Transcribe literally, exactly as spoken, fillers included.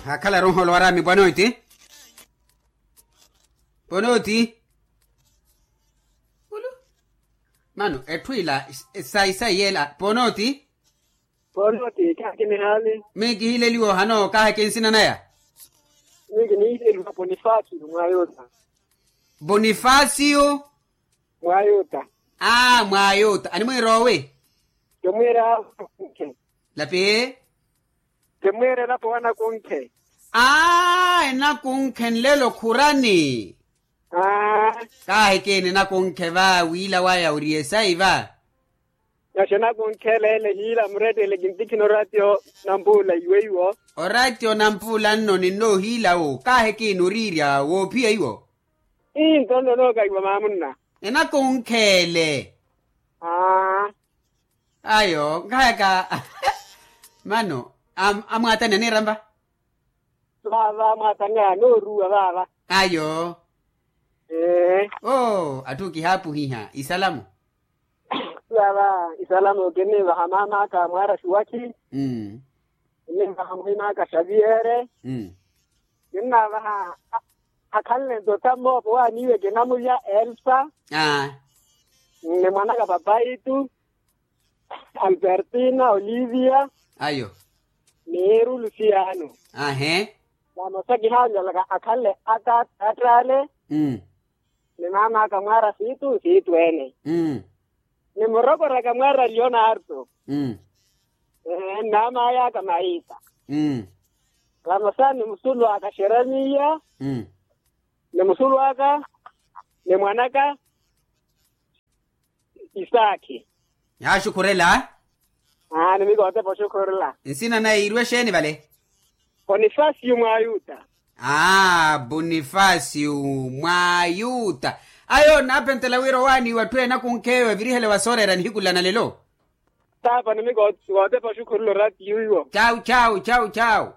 Akhala roho olwaraami pwanoti. Pwanoti. Mano etthu ila sayi sayi ela pwanoti. Pwanoti kaha kinihaali. Miyo kihileliwa ohano kaha kinsina naya. Miyo kiniileliwa ponifasio mwayuta. Ponifasio. Mwayuta. Aa mwayuta animwiira owi. Kimwiira. Lapi. Kimwiira elapo wanakunkhe. Aa enakunkhe nlelo khurani. Aa. Kaahikini enakunkhe va wiila waya ori esayi va. Naxi enakunkhe eleele hiila murettele kintikhina oratio. Nampuula iwe iwo. Oratio nampuula nno ninno ohiila wo kaahikini oriirya woophiya iwo. Ii nto nno nookaiwa maamunna. Enakunkhe ele. Aa. Ayo nkahayaka. Mano amwaatani aniirampa. Vaava amwaatani anooruwa vaava. Ayo. Oo atthu kihaapuhiha isalamu. Vaava isalamu kinniivaha maam'aka mwaara xuwakhi. Kinniivaha muhim'aka xaviyere. Kinnaavaha akhanle nto tammoopo waaniiwe kinamulya elsa. Ni mwanaka papaitu. Albertina olivia. Ayo. Ni eru lusiano. Ahe. Vamosa kihaanyalaka akhanle attaale. Ni maam'aka mwaara siitu siitu ene. Ni murokor'aka mwaara leonarto. Ni maam'ay'aka maita. Vamosa ni musulw'aka xeremiya. Ni musulw'aka ni mwan'aka. Isaakhi. Yaaxukhurela. Aani mikotepa oxukhurela. Nsina naye iirwe exeeni vale? Ponifasio mwayuta. Aa ponifasio mwayuta. Ayo naaphentela wira owaaniwa atthu enakunkheyo evirihele wasooreera nihiku lana lelo. Taapa ni mikotepa oxukhurela oratiyo iwo. Cawu cawu cawu cawu.